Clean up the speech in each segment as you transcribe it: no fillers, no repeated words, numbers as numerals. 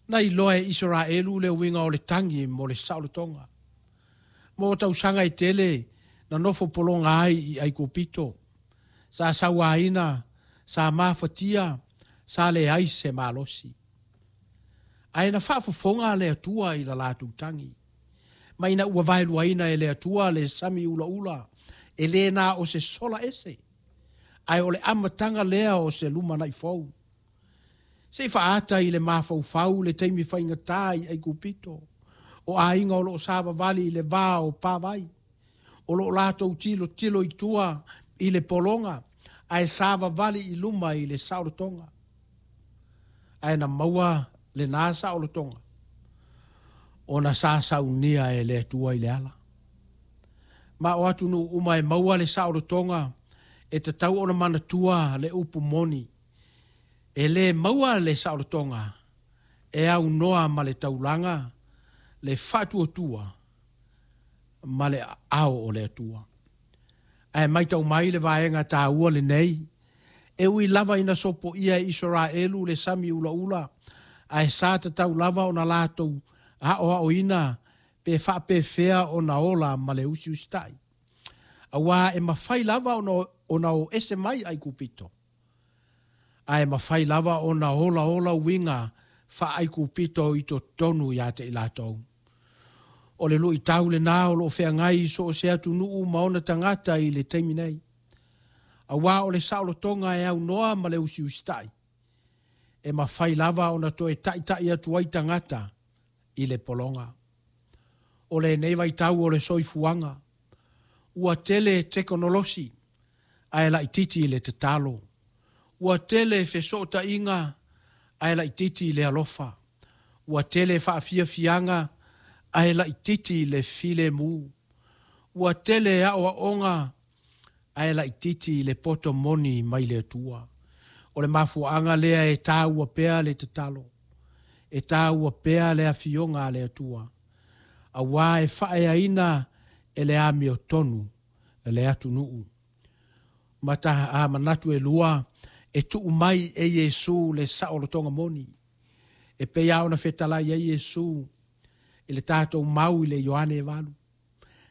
Na iloa e Isaraelu le uiga o le tagi mo le saolotoga. Mo tausaga e tele na nofo pologa ai i Aikupito. Sa sauaina, sa mafatia, sa leai se malosi. Ae na faafofoga le Atua i la latou tagi. Ma ina ua vaeluaina e le Atua le sami ulaula, e le na o se sola ese, ae o le amataga lea o se lumanai fou. Se i faaata i le mafaufau le taimi faigata i Aikupito, o aiga o lo o savavali i le va o pavai, o lo o latou tilotilo i tua i le pologa, ae savavali i luma i le saolotoga. Ae na maua lena saolotoga, ona sa saunia e le Atua i le ala. Ma o atunuu uma e maua le saolotoga, e tatau ona manatua le upu moni. E le maua le saolotoga e aunoa ma le taulaga, le faatuatua ma le aao o le Atua. Ae matau mai le vaega taua lenei, e ui lava ina sopoia e Isaraelu le sami ulaula, ae sa tatau lava ona latou aoaoina pe faapefea ona ola ma le usiusitai. Auā e mafai lava ona o ese mai Aikupito, ae mafai lava ona olaola uiga faa-Aikupito i totonu ia te i latou. O le luitau lena o lo o feagai i so o se atunuu ma ona tagata i le taimi nei. Auā o le saolotoga e aunoa ma le usiusitai, e mafai lava ona toe taitai atu ai tagata i le pologa. O lenei vaitau o le soifuaga, ua tele tekonolosi ae laitiiti le tatalo. Ua tele fesootaiga ae laitiiti le alofa. Ua tele faafiafiaga ae laitiiti le filemu. Ua tele aoaoga ae laitiiti le poto moni mai le Atua. O le mafuaaga lea e taua pea le tatalo, e taua pea le afioga a le Atua, auā e faaeaina e le amiotonu le atunuu. Ma ta a manatu e lua, e tuu mai e Iesu le saolotoga moni. E pei lava ona fetalai ai Iesu i le tatou mau i le Ioane e 8.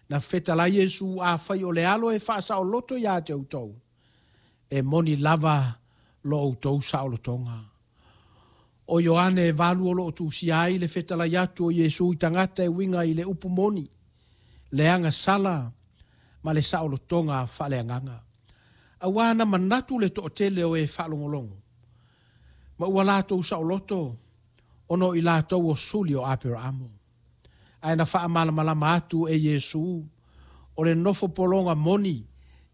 Na fetalai Iesu, afai o le alo e faasaoloto ia te outou, e moni lava lo outou saolotoga. O Ioane e 8 o lo o tusia ai le fetalai atu o Iesu i tagata e uiga i le upu moni, le agasala ma le saolotoga faaleagaga. Auā na manatu le toatele o e faalogologo, ma ua latou saoloto ona o i latou o suli o Aperaamo. Ae na faamalamalama atu e Iesu, o le nofo pologa moni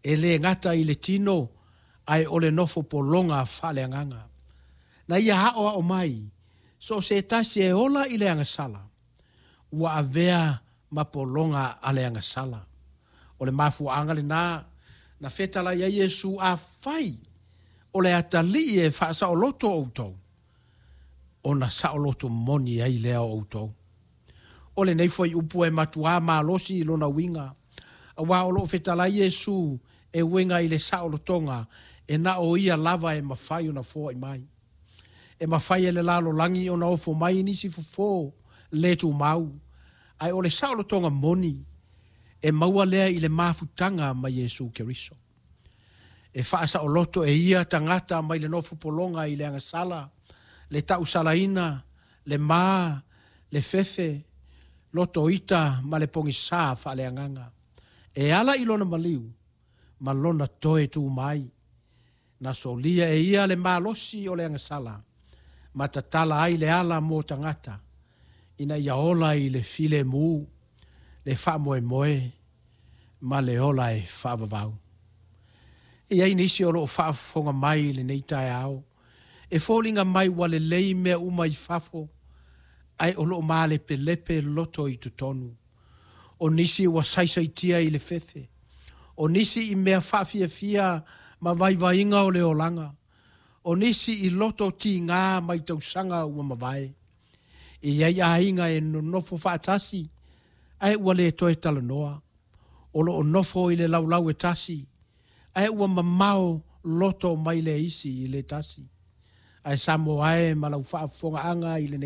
e le gata i le tino, ae o le nofo pologa faaleagaga. Na ia aoao mai, so o se tasi e ola i le agasala, ua avea ma pologa a le agasala. O le mafuaaga lena na fetalai ai Iesu, afai o le atalii e faasaoloto outou, ona saoloto moni ai lea o outou. O lenei fuaiupu e matuā malosi i lona uiga, auā o lo o fetalai Iesu e uiga i le saolotoga e na o ia lava e mafai ona foai mai. E mafai e le lalolagi ona ofo mai nisi fofo le tumau, ae o le saolotoga moni e maua lea i le mafutaga ma Iesu Keriso. E faasaoloto e ia tagata mai le nofo pologa i le agasala, le tausalaina, le ma, le fefe, loto ita ma le pogisā faaleagaga. E ala i lona maliu ma lona toe tu mai. Na solia e ia le malosi o le agasala, ma tatala ai le ala mo tagata, ina ia ola i le filemu, le faamoemoe ma le ola e faavavau. E i ai nisi o lo o faafofoga mai i lenei taeao, e foliga mai ua lelei mea uma i fafo, ae o lo o malepelepe loto i totonu. O nisi ua saisaitia i le fefe, o nisi i mea faafiafia ma vaivaiga o le olaga, o nisi i loto tiga mai tausaga ua mavae. E i ai aiga e nonofo faatasi, ae ua le toe talanoa. O lo o nofo i le laulau e tasi, ae ua mamao loto mai le isi i le tasi. Ae Samoa e ma lau faafofogaaga i lenei